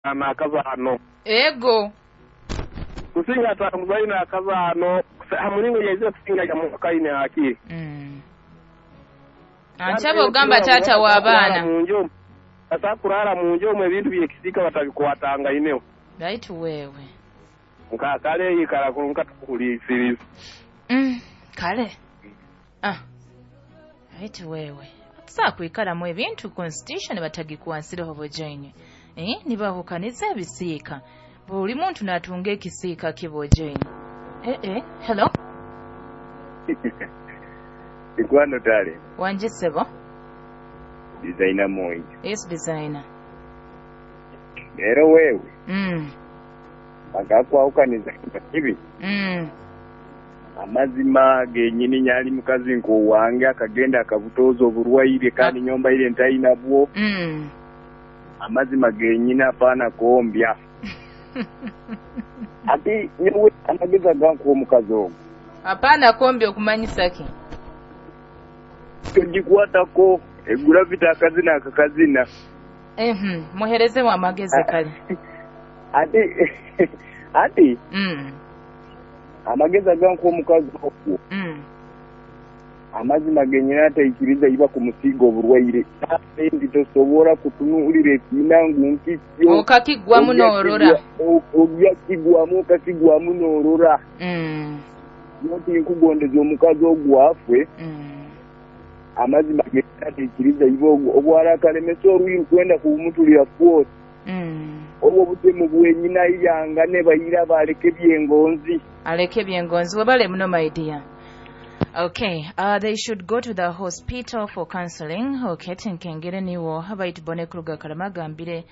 N'akazaano. Ego. Kusinga atamuzaine n'akazaano ha mulingo yaizire kusinga yamukaine hakiri. Ankyaba ogamba taata w'abaana. Asakurara mu nju omwe ebintu byekisiika batabikwatangaineho. Baitu wewe. Nkakale yikara kurunka tukuhuliisiriza. Kale. Baitu wewe. Tusakwikaramu ebintu constitution batagikwansireho bojaine. Nibahukaniza ebisiika. Buli muntu natunga ekisiika kibojaine. Hello. Ikwano tale. Wanje sebo. Designer moyi. Yes, designer. Lero wewe. Bagakwawukaniza kibi. Amazima genyini nyali mukazi nko wange akagenda akabutoza oburwaire kandi nyomba ile ntaina bwo. Amazima genyini apana kombya. Ati nyewe amageza ganku omukazi ogwo. Apana kombya okumanyisa ki? Togikwatako egura vita akazina akakazina. Muhereze wa amagezi kale. Ati amagezi aganku omukazi ogwo. Amazima genyini ataikiriza iba kumusiga oburwaire. Ndi tosobola kutunuulira ekiina ngu nkikyo. Okakigwamu n'orora. Obyakigwamu okakigwamu n'orora. Nti nkugondeza omukazi ogwo afwe. Amazima genyini ataikiriza iba obwala akalemesa orwiru kwenda kumutulira kwose. Obwo butemu bwenyina iyanga ne bayira baleke byengonzi. Aleke byengonzi webale muno my dear. Okay, they should go to the hospital for counseling. Okay, tinkengere niwo habaitu bone kuruga karamagambire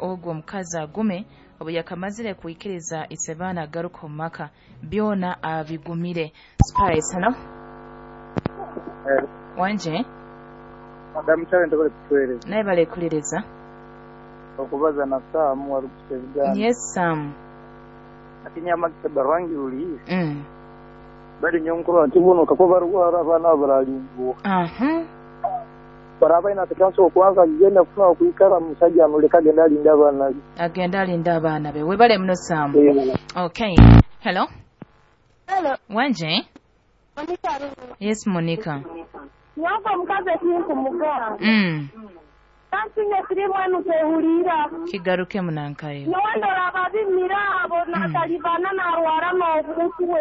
ogwo omukazi agume obu yakamazire kuikiriza isebana agaruka omu maka byona abigumire. Spice, hello? Wanje? Madam Challenge bale kutueleza. Naye bale kuliriza. Okubaza na Sam warukusebigana. Yes, Sam. Akinyama kisabarangi uli. Bali nyonkuru ntibuno kakuba barwara abana baralingo. Baraba ina tekanso kwanza genda kufuna kuikara musajja amuleka agenda alinda abaana be. Agenda alinda abaana be. Webale muno Sam. Okay. Hello. Hello. Wanje? Monica. Yes, Monica. Nyoko mukazi ekinkumugamba. Kansinye sirimu enu tehulira. Kigaruke munankayo. Nowandora ababimira abo natalibana narwara n'obutwe.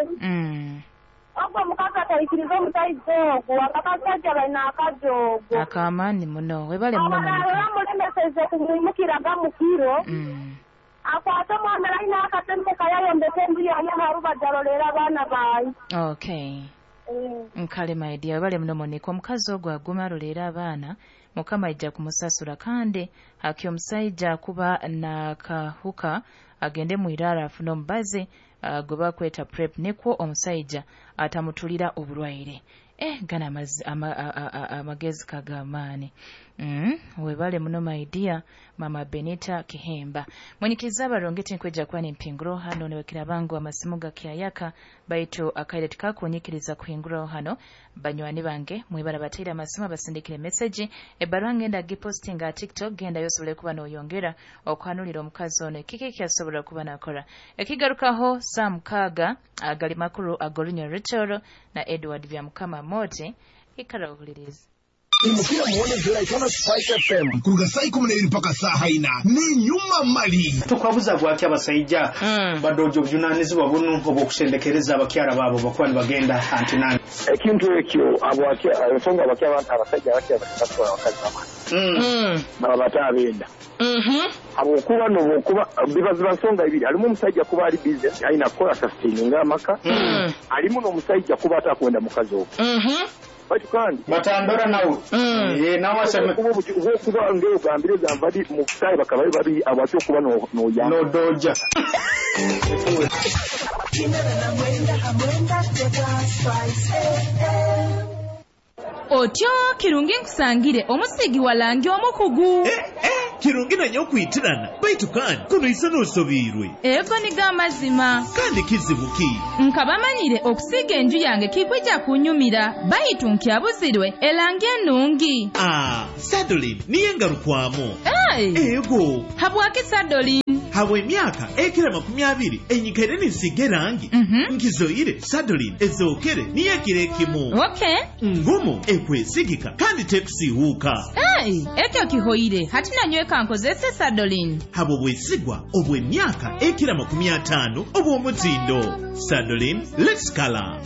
Ogwo mukazi ataikiriza omusajja ogwo akakasajja balina akajogo. Akamaani muno webale muno Monica. Amulemeseze kumwimukiraga mu kiro. Akwate omwana alina akasente kayayombeka enju yaye aharubaja arolera abaana baye. Okay. Nkale my dear webale muno Monica. Omukazi ogwo aguma arolera abaana Mukama aija kumusasura kandi haki omusajja kuba nakahuka agende mwirara afune omubazi gwe bakweta prep nikwo omusajja atamutulira oburwaire. Gana amagezi kagamaani. Webale muno my dear Mama Benita Kihemba. Mwenyikiriza abarongeti nkweja kwani mpinguro hano niwekera bangu amasimu gakyayaka baitu akaire tikakunyikiriza kuhinguraho hano banywani bange mwibara batera amasimu abasindikire message ebarwa ngenda gipostinga TikTok genda yosobole kuba noyongera okuhanulira omukazi ono kiki kyasobola kuba nakora. Ekigarukaho Sam Kaga agali makuru agorinyo Richard na Edward Byamukama Mote ikara uhuliriza. Imukira muone Jolaitano Spice FM kuruga saa 12 mpaka saa 4 ni nyuma mali. Tukwabuza gwaki abasajja badojo obujunanizibwa buno obwokusendekereza abakyala baabo bakuba nibagenda antinani. Ekintu ekyo ensonga abasajja abakyala abakazi baba. Baba batabenda. Habwokuba n'obwokuba bibaziba nsonga ibiri alimu omusajja kuba ali busy alina kukola sustaininga amaka alimu n'omusajja kuba atakwenda mukazi ogwo. Batu kandi batandora nawe nawe aseme kuba ngeo gambire zambadi mu sai bakaba bari abatyo kuba no ya no doja. Otyo kirungi nkusangire omusigi walangi omukugu. Kirungi nanyo okwitirana, baitu kandi kuno isa n'osobiirwe. Ego nigo amazima. Kandi kizibu ki? Nkaba manyire okusiiga enju yange kikwija kunyumira, baitu nkyabuzirwe erangi enungi. Ah, Sadolin niyo engarukwamu. Hey! Ego. Habwaki Sadolin? Habwa emyaka ekira 20 enyikaire ninsiiga erangi. Nkizoire Sadolin ezookere niyo ekiro ekimu. Okay. Ngumu, ekwesigika kandi tekusiihuuka. Hey, ekyo kihoire. Hati nanyweka nkozese Sadolin. Habwo bwesigwa obw'emyaka ekira 50 obw'omutindo. Sadolin, let's color.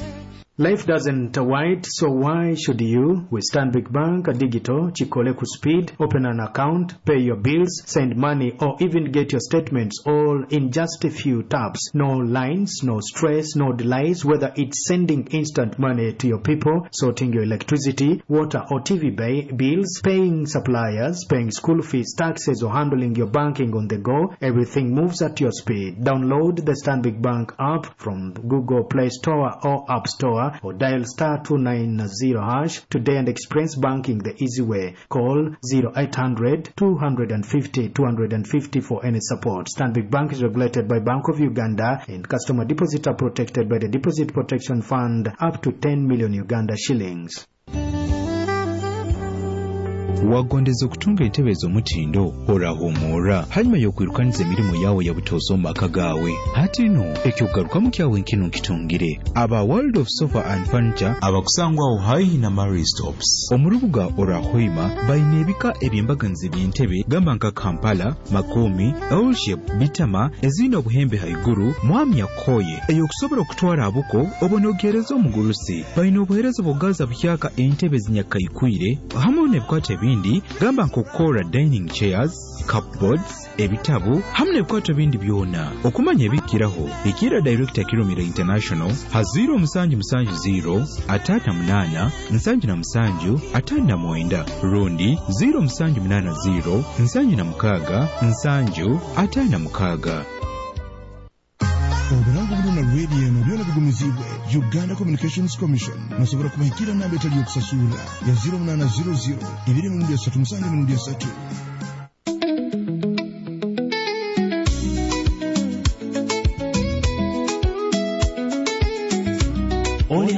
Life doesn't wait, so why should you? With Stanbic Bank Digital, Chikole Speed, open an account, pay your bills, send money, or even get your statements all in just a few taps. No lines, no stress, no delays, whether it's sending instant money to your people, sorting your electricity, water or TV bills, paying suppliers, paying school fees, taxes, or handling your banking on the go, everything moves at your speed. Download the Stanbic Bank app from Google Play Store or App Store, or dial star 290# today and experience banking the easy way. Call 0800 250 250 for any support. Stanbic Bank is regulated by Bank of Uganda and customer deposits are protected by the Deposit Protection Fund up to 10 million Uganda shillings. Wagondeza okutunga entebe ez'omutindo orahumura hanyuma y'okwirukaniza emirimu yawe ya butoosa omu maka gaawe. Hati no ekyokugarukamu kyawe nkino nkitungire aba World of Sofa and Furniture abakusangwaho haihi na Marie Stops omu rubuga Orahoima. Baine ebika eby'embaganiza eby'entebe, gamba nka Kampala, Makomi, L-shape, Bitama ezine obuhembe haiguru, mwamya koye eyokusobola okutwara abuko obonogereza omugurusi. Baine obuhereza bw'okugaza buhyaka entebe zinyakaikwire hamwe n'ebikwato ebindi, gamba nk'okukora dining chairs, cupboards, ebitabu hamwe n'ebikwato ebindi byona. Okumanya ebikiraho, ikira Director Kirumira International ha 0770 58 77 59 rundi 0780 76 7 56. Oburango buno na radio eno byona bigumizibwe Uganda Communications Commission. Nasobola kubahikira namba etali yokusasura ya 0800 2 3 7 3. Oli.